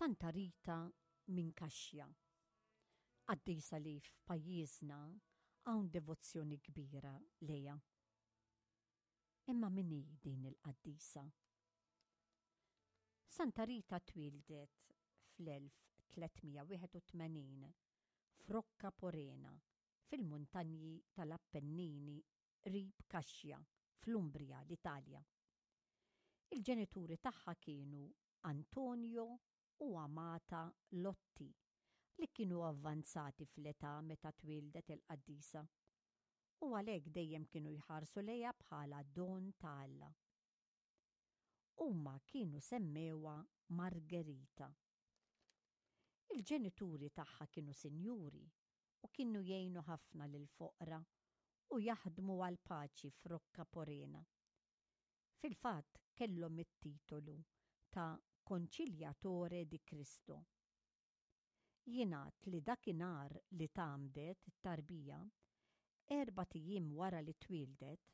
Santa Rita minn Kaxja. Qaddisa li f'pajjiżna hawn devozzjoni kbira lejha. Imma min hi din il-qaddisa? Santa Rita twieldet fl-1381 f'Rocca Porena fil-muntanji tal-Appennini qrib Cascia, fl-Umbria, l-Italja. Il-ġenituri tagħha kienu Antonio u Amata Lotti, li kienu avvanzati fl-età meta twieldet il-qaddisa, u għalhekk dejjem kienu jħarsu lejha bħala don ta' Alla. Huma kienu semmewha Margherita. Il-ġenituri tagħha kienu sinjuri u kienu jgħinu ħafna lill-foqra u jaħdmu għall-paċi f'Rocca Porena. Fil-fatt kellhom it-titolu ta' Conciliatore di Cristo. Jingħad li dakinhar li tgħammdet it-tarbija, erbat ijiem wara li twieldet,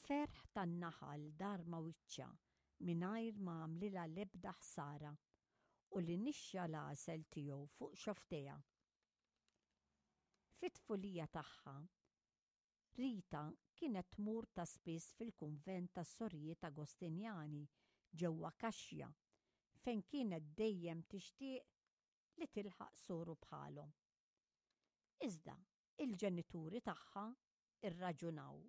ferħ tan-naħal dar ma' wiċċha mingħajr ma għamlilha l-ebda ħsara u li nixxa l-għasel tiegħu fuq xofftejha. Fit-tfulija tagħha, Rita kienet tmur ta' spiss fil-kunvent tas-Sorijiet Agostinjani ġewwa Cascia fejn kienet dejjem tixtieq li tilħaq soru bħalhom. Iżda il-ġenituri tagħha rraġunaw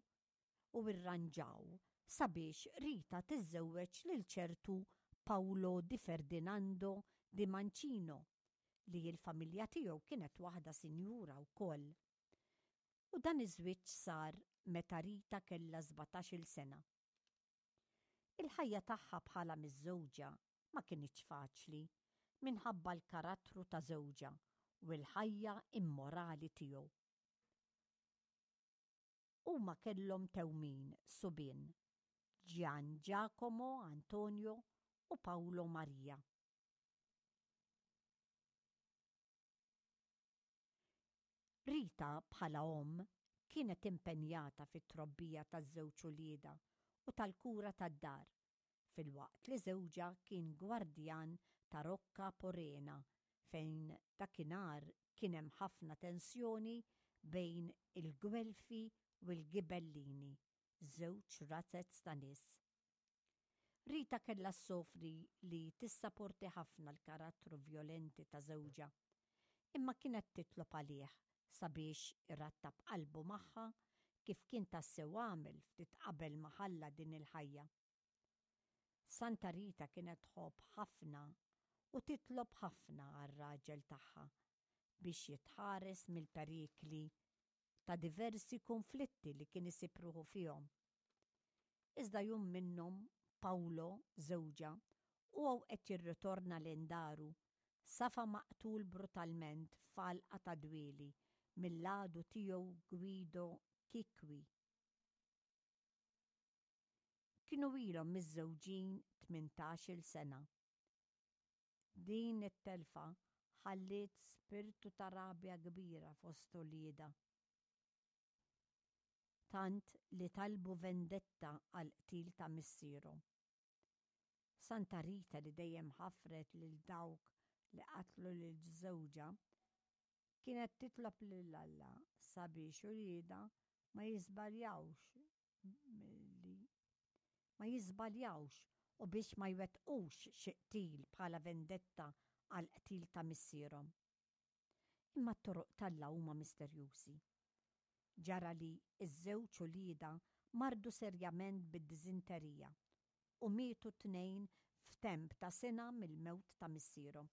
u rranġaw sabiex Rita tiżżewweġ lil ċertu Paolo di Ferdinando di Mancino li l-familja tiegħu kienet waħda sinjura wkoll. U dan iż-żwieġ sar meta Rita kellha sbatax-il sena. Il-ħajja tagħha bħala miżżewġa ma kinitx faċli minħabba l-karattru ta' żewġha u l-ħajja immorali tiegħu. Huma kellhom tewmin subien, Gian Giacomo Antonio u Paolo Maria. Rita bħala omm kienet impenjata fit-trobbija taż-żewġ uliedha u tal-kura tad-dar, filwaqt li żewġha kien gwardjan ta' Rocca Porena fejn dakinhar kien hemm ħafna tensjoni bejn il-Gwelfi u l-Ghibellini, żewġ razez ta' nies. Rita kellha ssofri li tissaporti ħafna l-karattru vjolenti ta' żewġha, imma kienet titlob għalih sabiex irattab qalbu magħha kif kien tassew għamel ftit qabel ma ħalla din il-ħajja. Santa Rita kienet tħobb ħafna u titlob ħafna għar-raġel tagħha biex jitħares mill-perikli ta' diversi kunflitti li kien isib ruħu fihom. Iżda jum minnhom, Paolo, żewġha, huwa u qed jirritorna lejn daru, safa maqtul brutalment f'għalqa ta' dwieli mill-għadu tiegħu Guido Chicqui. Kienu ilhom miżżewġin tmintax-il sena. Din it-telfa ħalliet spirtu ta' rabja kbira fost uliedha, tant li talbu vendetta għall-qtil ta' missierhom. Santa Rita li dejjem ħafret lil dawk li qatlu lil żewġha, kienet titlob lil Alla sabiex uliedha ma jiżbaljawx li ma jiżbaljawx u biex ma jwettqux xi qtil bħala vendetta għall-qtil ta' missierhom. Imma t-toroq t'Alla huma misterjużi. Ġara li ż-żewġ uliedha mardu serjament bid-diżinterija u mietu t-tnejn f'temp ta' sena mill-mewt ta' missierhom.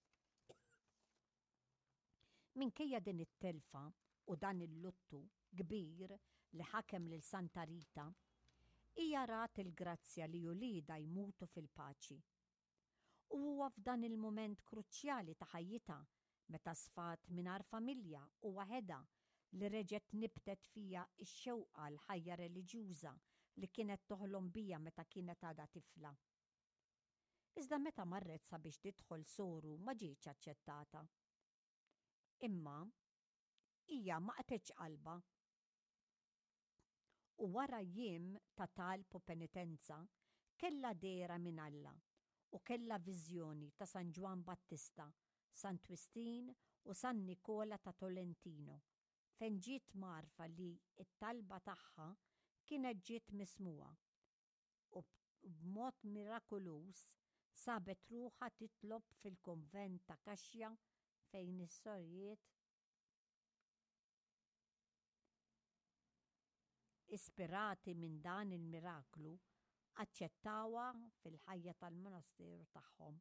Minkejja din it-telfa u dan il-luttu kbir li ħakem lil Santa Rita, hija rat il-grazzja li uliedha jmutu fil-paċi. U huwa f'dan il-mument kruċjali ta' ħajjitha, meta sfat mingħajr familja u waħedha, li reġgħet nibtet fiha x-xewqa għall-ħajja reliġjuża li kienet toħlom biha meta kienet għadha tifla. Iżda meta marret sabiex tidħol soru ma ġietx aċċettata. Imma hija ma qatgħetx qalbha. U wara jiem ta' talb u penitenza kellha dehra minn Alla. u kellha viżjoni ta' San Ġwann Battista, San Twistin u San Nikola ta' Tolentino fejn ġiet mgħarrfa li t-talba tagħha kienet ġiet mismugħa u b'mod mirakuluż sabet ruħha titlob fil-kunvent ta' Cascia fejn is-sorijiet ispirati minn dan il-miraklu aċċettawha fil-ħajja tal-monasteru tagħhom.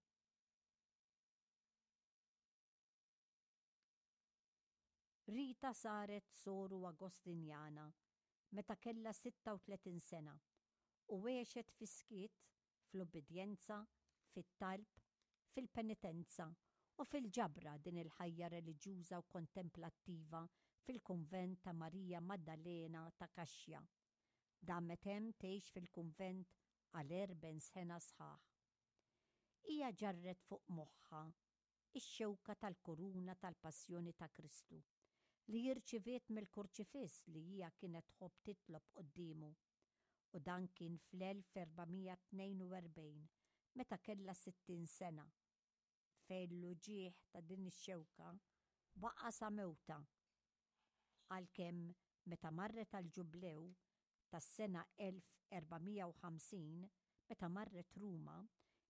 Rita saret soru Agostinjana meta kellha 36 sena u għexet fis-skiet, fl-ubbidjenza, fit-talb, fil-penitenza u fil-ġabra din il-ħajja reliġjuża u kontemplattiva fil-kunvent ta' Marija Maddalena ta' Cascia. Damet hemm tgħix fil-kunvent għal 40 sena sħaħ. Hija ġarret fuq moħħha ix-xewka tal-kuruna tal-Passjoni ta' Kristu, li irċiviet mill-Kurċifiss li hija kienet tħobb titlob quddiemu, u dan kien fl-1442 meta kellha 60 sena, fejn l-uġigħ ta' din ix-xewka baqa' sa mewtha, għalkemm meta marret għall-Ġublew tas-sena 1450, meta marret Ruma,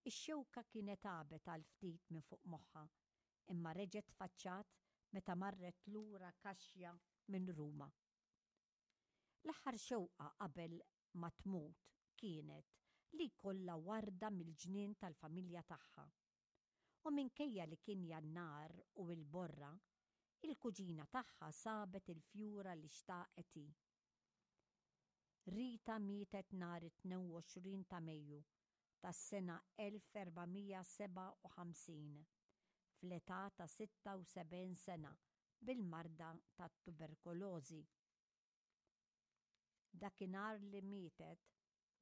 ix-xewka kienet għabet għal ftit minn fuq moħħha, imma reġgħet tfaċċat meta marret lura Cascia minn Ruma. L-aħħar xewqa qabel ma tmut kienet li jkollha warda mill-ġnien tal-familja tagħha. U minkejja li kien Jannar u l-borra, il-kuġina tagħha sabet il-fjura li xtaqet hi. Rita mietet nhar it-22 ta' Mejju tas-sena 1457 fl-età ta' 76 sena bil-marda tat-tuberkulożi. Dakinhar li mietet,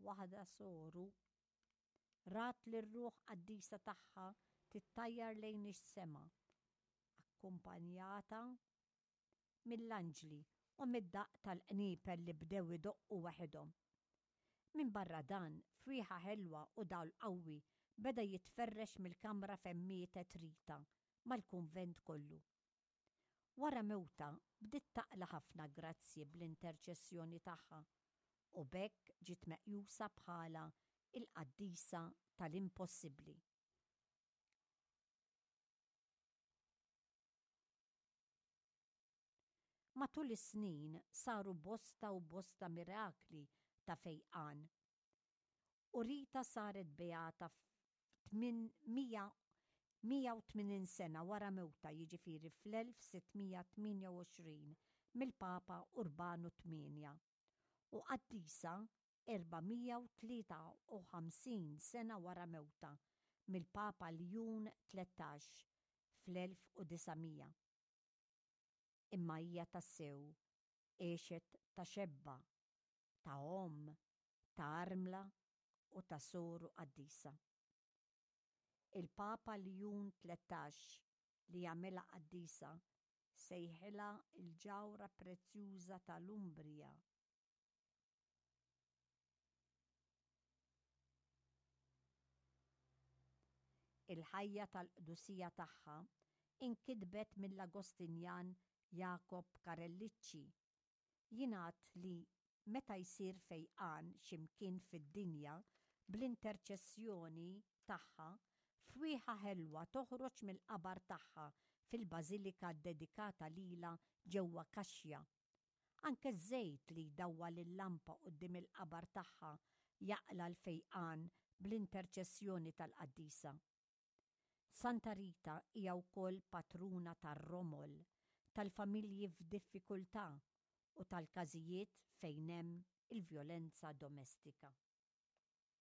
waħda soru rat lir-ruħ qaddisa tagħha tittajjar lejn is-sema, akkumpanjata mill-anġli u mid-daqq tal-qniepel li bdew idoqqu waħedhom. Minbarra dan, fwieħa ħelwa u dawl qawwi beda jitferrex mill-kamra fejn mietet Rita mal-kunvent kollu. Wara mewtha bdiet taqla' ħafna grazzji bl-interċessjoni tagħha u b'hekk ġiet meqjusa bħala l-qaddisa tal-impossibbli. Matul is-snin saru bosta u bosta mirakli ta' fejqan. U Rita saret beata f'180 sena wara mewtha jiġifieri fl-1628 mill-Papa Urbanu Tmienja u qaddisa 453 sena wara mewtha mill-Papa Ljun 13 fl-1900. Imma hija tassew għexet ta' xebba, ta' omm, ta' armla u ta' soru qaddisa. Il-Papa Ljun 13 li għamilha qaddisa sejħilha l-ġawhra prezzjuża ta' l-Umbria. Il-ħajja tal-qdusija tagħha inkitbet mill-Agostinjan Jakob Karellicci. Jingħad li meta jsir fejqan xi mkien fid-dinja bl-interċessjoni tagħha, fwieħa ħelwa toħroġ mill-qabar tagħha fil-bażilika ddedikata lilha ġewwa Cascia. Anke ż-żejt li jdawwal il-lampa quddiem il-qabar tagħha jaqla' l-fejqan bl-interċessjoni tal-qaddisa. Santa Rita hija wkoll patruna tar-romol, tal-familji f'diffikultà u tal-każijiet fejn hemm il-vjolenza domestika.